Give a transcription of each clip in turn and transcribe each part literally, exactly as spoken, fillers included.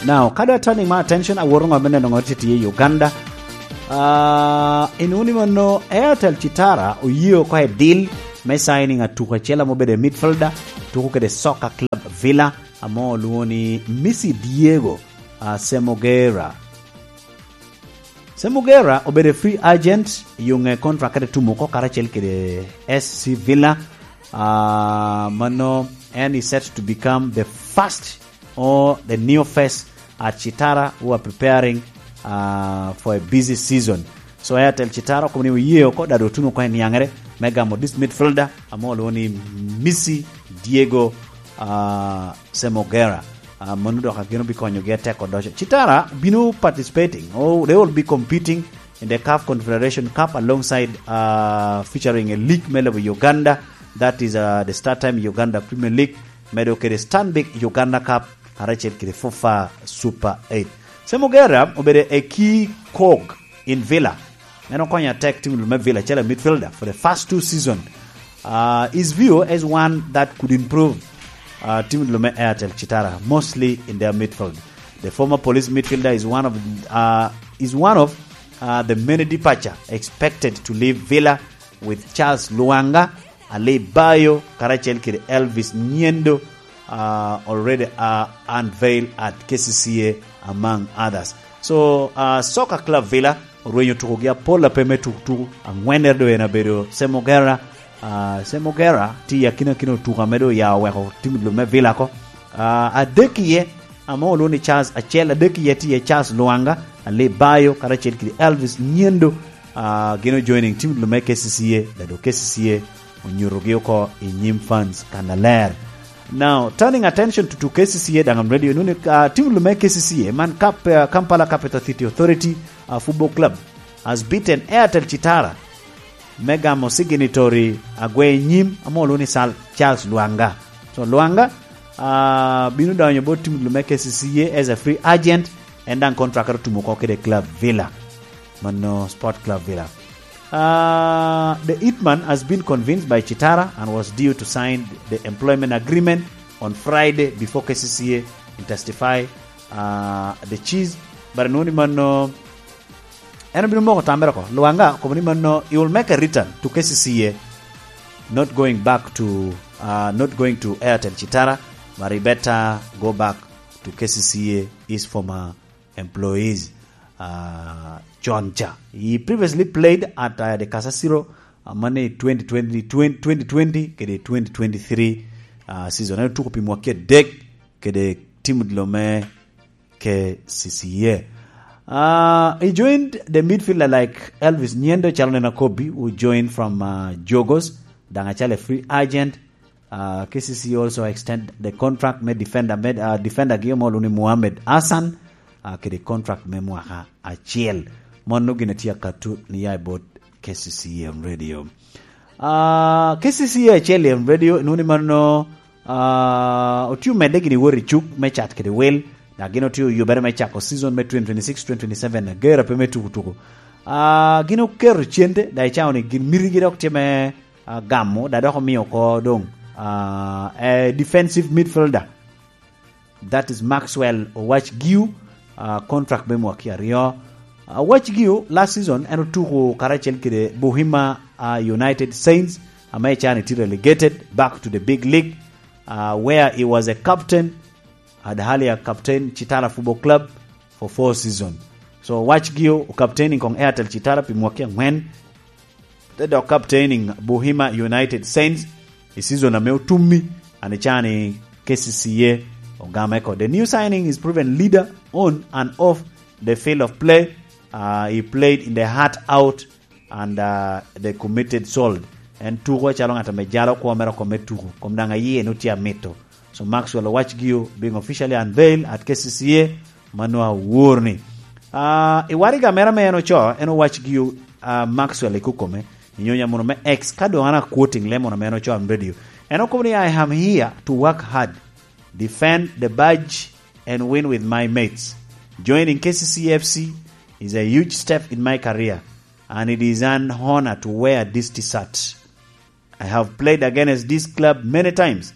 Now, ka dong turning my attention, awoto ŋot me neno ŋot tye i Uganda. Ah, inuni mano Airtel Chitara oye oko i deal me signing atuko acel ame obedo i midfielder, tuko kede Soccer Club Villa, amo olwongo ni Missy Diego, ah, Semogera. Semogera obedo free agent, yuŋe contract kede tumo oko karacel kede S C Villa. Ah, mano, and is set to become the first or the new face at Chitara, who are preparing, uh, for a busy season. So Airtel Chitara okobo ni oye oko, dado otuno oko i niaŋere me gamo this midfielder, amo olwongo ni Missy Diego, uh, Semogera. Uh, mano dok ageno bikonyogi atek odoco. Chitara bino participating, oh, they will be competing in the CAF Confederation Cup alongside, uh, featuring a league me lobo Uganda, that is, uh, the Star Time Uganda Premier League, medo kede Stanbic Uganda Cup, karacel kede FUFA Super eight. Semogera obedo a key cog in Villa. En okonyo atek tim me Villa, acel midfielder for the first two season. Uh, his view as one that could improve, uh, tim me Airtel Chitara, mostly in their midfield. The former Police midfielder is one of, uh, is one of, uh, the many departure expected to leave Villa, with Charles Luanga, Ali Bayo, karacel kede Elvis Nyendo, uh, already, uh, unveiled at K C C A, among others. So, uh, Soccer Club Villa orwenyo tukogi apol ape me tukutuku. Aŋwennere doŋ en abedo Semogera. Uh, Semogera tye i akinakin otuko ame doŋ oya oweko tim lub me Villa oko. Uh, adek iye, ame olwongo ni Charles acel, adek iye tye iye Charles Luanga, Ali Bayo, karacel kede Elvis Nyendo. Uh, gin ojoining tim lub me K C C A, dado K C C A onyutogi oko i nyim fans kannaler. Now, turning attention to, to K C C A, daŋ am ready, inuni, uh, tim lub me K C C A, man Kap-, uh, Kampala Capital City Authority, uh, Football Club, has beaten Airtel Chitara me gamo signatory agwe nyim ame olwongo ni Sal-, Charles Luanga. So Luanga, uh, bino donyo bot tim lub me K C C A as a free agent, en daŋ contract otumo oko kede Club Villa. Mano Sport Club Villa. Uh, the hitman has been convinced by Chitara and was due to sign the employment agreement on Friday before K C C A intensify, uh, the chase. But nuni mano, en obino moko tamere oko. Luanga okobo ni mano, he will make a return to K C C A, not going back to, uh, not going to Airtel Chitara, but he better go back to K C C A, his former employees, uh, John Cha. He previously played at, uh, the Kasasiro, uh, mane twenty twenty, twenty twenty, kede twenty twenty-three, uh, season. En otuko pi mwaki adek kede tim odilo me K C C A. Uh, he joined the midfielder like Elvis Nyendo, calo nena Kobe, who joined from, uh, Jogos, daŋ acalo a free agent. Uh, K C C A also extend the contract me defender, med, uh, defender gi omolo ni Mohamed Hassan, uh, kede contract me mwaka acel. Mono gin atye akatu ni ya i bot K C C A on radio. Uh, K C C A acel on radio, nuni mano, uh, otio medde gini wori cuk me cat kede wel, na gin otio yubere me cako season me twenty twenty-six twenty twenty-seven, gera pe me tuku tuku. Uh, gin oketo cente, da icao ni gin miti gi dok tye me, uh, gamo, da dok omio ko dong, uh, a defensive midfielder. That is Maxwell Owach Giu, uh, contract me mwaki aryo. Uh, Owach Giu, last season, en otuko karacel kede Bohima, uh, United Saints, ame can iti relegated back to the big league, uh, where he was a captain, had Halia captain Chitara Football Club for four season. So Owach Giu, captaining kong Airtel Chitara pi mwaki angwen, te dok captaining Bohima United Saints i season ame otummi, and icani K C C A ogame ko. The new signing is proven leader on and off the field of play. Uh, he played in the heart out and, uh, the committed soul. En tuko acalo ŋat ame jalo kwo mere oko me tuko. Kom daŋ aye en otye amito. So Maxwell Owach Giu being officially unveiled at K C C A, mano awor ni. Ah, i waraga mere ame en oco, en Owach Giu, ah, Maxwell i kukome, i nyonya mono me X, ka doŋ an a quoting le mono ame en oco on radio. En okobo ni, "I am here to work hard, defend the badge, and win with my mates. Joining K C C A F C is a huge step in my career, and it is an honor to wear this T-shirt. I have played against this club many times,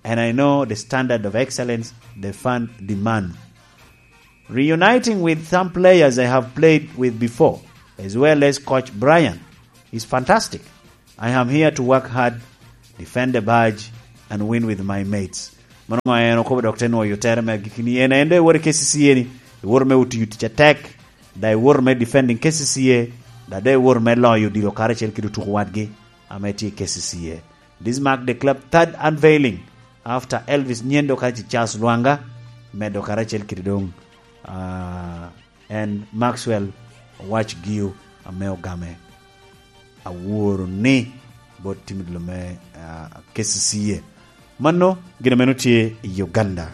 and I know the standard of excellence the fan demand." Reuniting with some players I have played with before, as well as Coach Brian, is fantastic. I am here to work hard, defend the badge, and win with my mates. Mano ma en okobo dok te nwoyo tere me agikki ni en, en doŋ iwoto i K C C A ni, iwoto me tiyo tic atek, da iwoto me defending K C C A, da doŋ iwoto me loyo odilo karacel kede otuko wadgi ame tye i K C C A. This mark the club third unveiling after Elvis Nyendo kacel Charles Lwanga, medo karacel kede doŋ, ah, en Maxwell Owac Gio ame ogame aworo ni bot tim dilo me, ah, K C C A. Mano gin meno tye i Uganda.